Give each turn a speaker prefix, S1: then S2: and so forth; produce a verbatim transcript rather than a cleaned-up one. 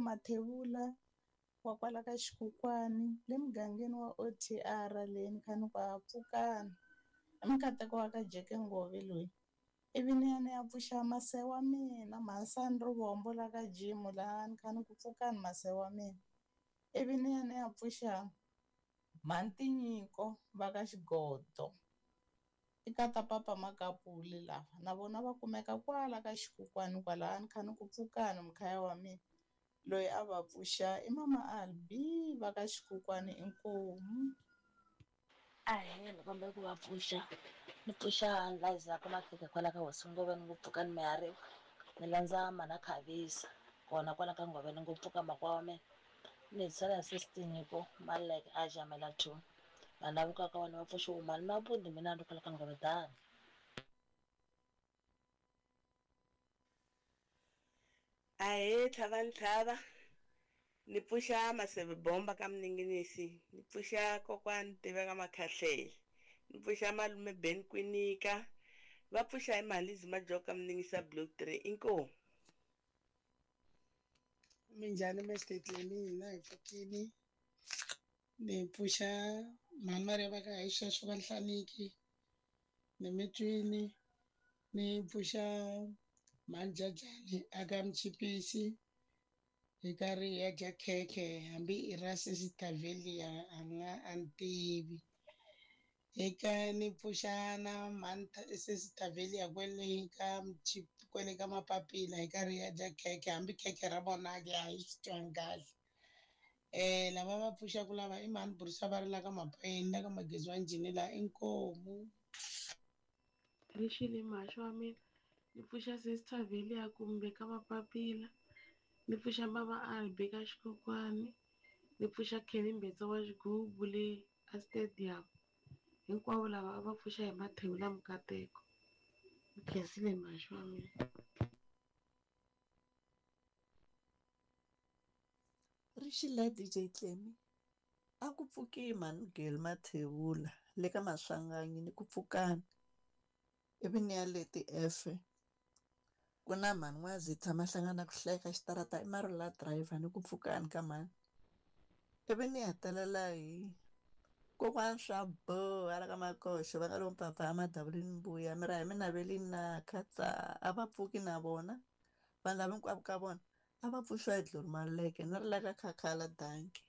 S1: Mathebula wa kwala ka Xikukwani le mugangeni wa O T R le ni kha ni ku a pfukani. I mukateko wa ka Jeke Ngove loyi. Ivi ni ya ni ya pfuxa mase wa mina Mhansani Rivombo la ka Jimu laha ni kha ni ku pfukani mase wa mina. Ivi ni ya ni ya pfuxa Mhantinyiko va ka Xigodo. I kata papa Makapuli lava na vona va kumeka kwala ka Xikukwani kwalaha ni kha ni ku pfukani mukhaya wa mina. Loyi a va pfuxa i mama Albi va ka Xikukwani inkomu.
S2: Ahee, ni kombela ku va pfuxa. Ni pfuxa Liza ka Makhekhe kwala ka Hosi Ngove ni ku pfuka ni mihariwa. Ni landza Mana Khavisa kona kwala ka Ngove ni ku pfuka makwa wa mina. Ni hetisela hi sesi Nyiko Maleke a jamela two. Vanhu lava ka vona va pfuxa mali mabundi mina ni kwala ka Ngove dani.
S3: Ahee, tlhava ntlhava. Ni pfuxa Maseve Bomba ka Mninginisi, ni pfuxa kokwani Tiveka Makhahlele, ni pfuxa malume Ben Kwinika, va pfuxa hi Malizi Majoka Mningisa Block three inkomu.
S4: Minjhani Mister Clemi, hina hi pfukile. Ni pfuxa mhani Maria va ka hi sweswo va Nhlaniki, ni mitwini, ni pfuxa mhani Jajani aka Mchipisi. Hi karhi hi ya dya khekhe hambi i ra Sesitavelia a nga a ni tivi. Eka ni pfuxa na mhani Sesitavelia kwele ka kwele ka Mapapila hi karhi hi ya dya khekhe hambi khekhe ra vona ke a hi swi twangi kahle. Eh lava va pfuxaka lava i mhani Burisa va ri la ka Mapeni la ka Magezi wa Njhini la inkomu.
S5: Rixile mhaxo wa mina ni pfuxa Sesitavelia kumbe ka Mapapila. Ni pfuxa mama Albi ka Xikokwani, ni pfuxa Kenny Mbetsa wa Xigubu le a stadium. Hinkwavo lava a va pfuxa hi Mathebula Mukateko. Ni khensile mhaxo wa mina.
S6: Rixile D J Clemi, a ku pfuki mhani Gel Mathebula le ka Maswanganyi ni ku pfukani. Ivi ni ya le ti-F. Ku na mhani N'wazi tshama hlangana ku hleka xitarata i Marula driver ni ku pfukani ka mhani. Ivi ni hetelela hi kokwana swa boha la ka Makoxo va nga lo mpapa a madavulini mbuya mi ra hi mina ve na khatsa a va pfuki na vona vanhu lava hinkwavo ka vona a va pfuxiwa hi Glory Maluleke ni ri la ka Khakhala danki.